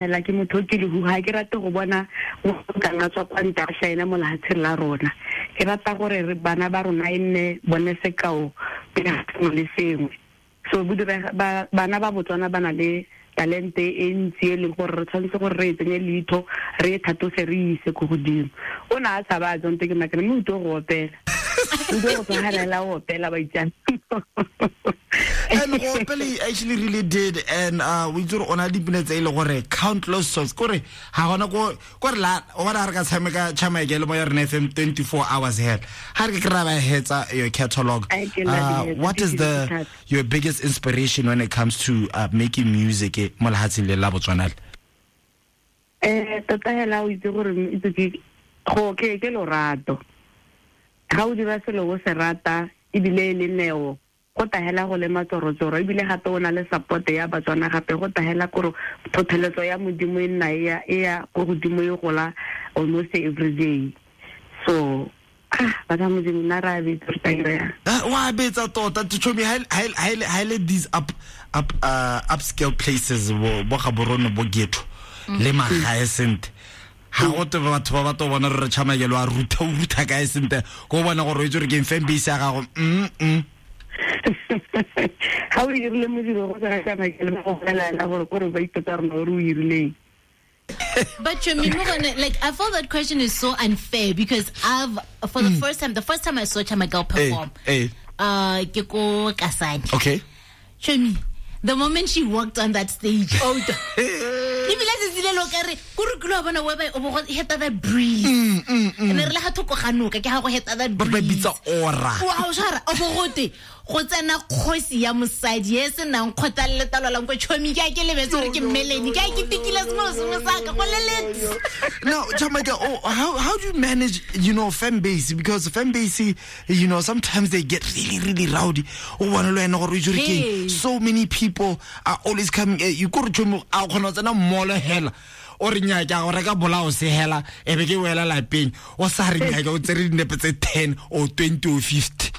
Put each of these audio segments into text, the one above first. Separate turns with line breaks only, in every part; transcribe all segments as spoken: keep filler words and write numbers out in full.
Hela ke motho ke le ga ke rate go bona go ka nna tswa kwa ntle a shaena mo lefatsheng la rona. Ke rata gore re bana ba rona e nne bone sekao pele ga sengwe le sengwe. So ba bana ba Botswana ba na le talente e ntsi e leng gore re tshwanetse gore re e tsenye leitho, re e thatose, re e ise ko godimo. O ne a tshaba a tsonte ke makana mme o tlo go opela. O tlo go tshwanela go opela ba itsang.
And go opela he actually really did, and uh we tsore ona dipina tse ile gore countless songs kore ha gona ko kore la o bona re ka tshameka Charmagel mo ya rena F M twenty-four hours here ha re ke ra ba hetsa your catalog. Uh, what is the your biggest inspiration when it comes to uh, making music mo lehatsheng le la Botswana?
Eh tota hela o itse gore itse ke go ke ke lorato. Ga o dira selo o se rata ebile le neo go tahela go le matsorotsoro ebile gape o na le support ya Batswana gape go tahela kore thotholetso ya Modimo e nna e ya e ya go godimo e gola almost every day. So ah ba Modimo na ra betsa re ya
wa betsa tota to me ha ha le these up up uh, upscale places bo bo Gaborone bo Geto le magae sente ha go te batho ba batho bona re Charmagel wa ruta o ruta kae sente go bona gore o itse re ke fan base ya gago. mm mm
Ga o dirile modiro go tsena ka makele ba go bolela gore gore ba ipotsa rona gore o dirileng.
But Chomi, like I feel that question is so unfair because I've for the mm. first time the first time I saw Charmagel perform,
hey, hey.
uh ke ko Kasane.
Okay.
Chomi, the moment she walked on that stage, oh ebile tsatsi le lo ka re ko re kilo bona we ba o bo go heta that breeze.
Mm mm mm.
Ene re le ga thoko ga noka ke ga go heta that breeze.
Ba bitsa aura.
Wow, shara o bo gote go tsena kgosi ya mosadi e se nang kgotsa le letalo la nko Chomi ke a ke lebetse gore ke mmeleni ke a ke tikile sengwe sengwe sa ka go leletse.
Now Charmagel, oh, how how do you manage, you know, fan base, because fan base, you know, sometimes they get really really rowdy. O bona le wena gore o itse gore ke so many people are always coming, you go re Chomi a kgona tsena mall hela o re nyaka go reka bolao se hela e be ke wela lapeng o sa re nyaka o tsere dinepe tse ten or twenty or fifty.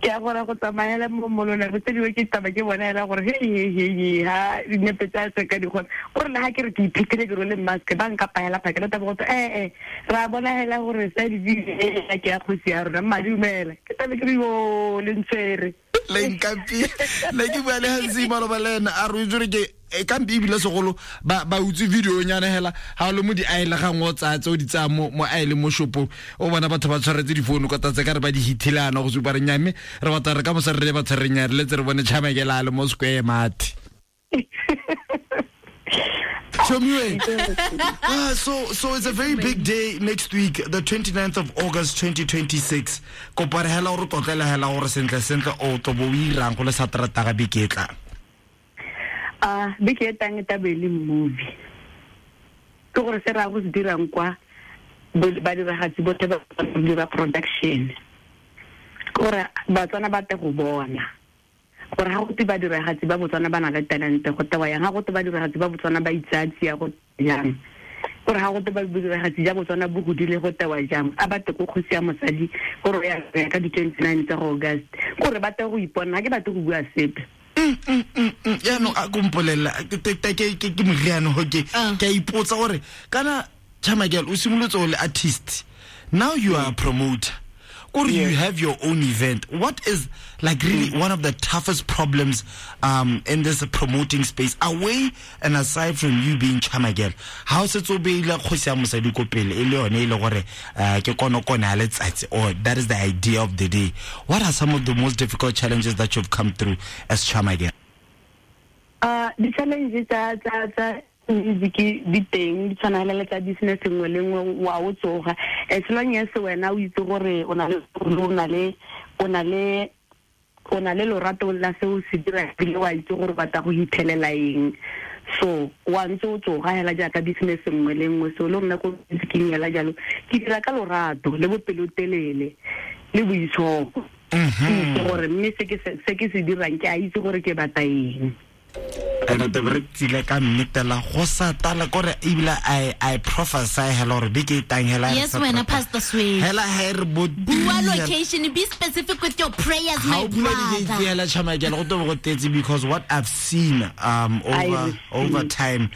Ke a gore go tsamaela mo molona go tsediwe ke taba ke bona ela gore he he he ha dinepe tsa se ka di gona gore le ha ke re ke iphekile ke role mask ba nka paela phakela taba go eh eh ra bona hela gore sa di di ke ya kgosi ya rona madumela ke tabe ke re yo le ntshwere
le nkampi le ke bua le Hansi maloba le ena a re itse gore ke e kampi ebile segolo ba ba utse video nyana hela ha le mo di aile ga ngo tsa tse o di tsaya mo mo aile mo shopong o bona batho ba tshwaretse difounu ka tsa ka re ba di hithilana go supa re nyame re batla re ka mo sa re ba tshwere nyare le tse re bone Charmagel a le mo square mate. Chomiwe. Ah, so so it's a very big day next week, the twenty-ninth of August twenty twenty-six. Kopa re hela o re tlotlela hela gore sentle sentle o tlo bo o irang go le sa trata ga beke tla.
Ah, beke e tang e tabe le movie. Ke gore se ra go se dirang kwa ba diragatsi botlhe ba dira production. Gore Batswana ba te go bona. Gore ga go te ba diragatsi ba Botswana ba na le talente go tewa yang, ga go te ba diragatsi ba Botswana ba itsatsi ya go yang. Gore ga go te ba diragatsi ja Botswana bo godile go tewa jang, a ba te ko kgosi ya mosadi gore ya ka di twenty-nine tsa August. Gore ba te go ipona, ga ke batle go bua sepe.
Mm mm mm ya no a kompolela ke ke ke ke moriano ho ke ke a ipotsa gore kana Charmagel o simolotse o le artist, now you are a promoter or you have your own event. What is like really one of the toughest problems um in this promoting space away and aside from you being Charmagel, how se tso beile kgosi ya mosadi ko pele e le yone e le gore ke kono kone a letsatsi or that is the idea of the day? What are some of the most difficult challenges that you've come through as Charmagel?
Uh the challenges tsa tsa tsa music di teng di tshwana le tsa business nngwe le nngwe wa o tsoga as long as wena o itse gore o na le o na le o na le o na le lorato la se o se dira ebile wa itse gore batla go ithelela eng, so wa ntse o tsoga hela jaaka business nngwe le nngwe. So le nna ko musicing hela jalo ke dira ka lorato le bopelotelele le boitshoko gore mme se ke se ke se dirang ke a itse gore ke batla eng.
And te re tsile ka mmetela go sa tala kore ebile i i prophesy hela gore beke e tang hela
Yes, wena Pastor Sway.
Hela ha re bo
Bua location, be specific with your prayers,
ha
my
o bula di-gate
brother.
Hela chamakela go tobe go tetse, because what I've seen um
I
over
receive.
Over time.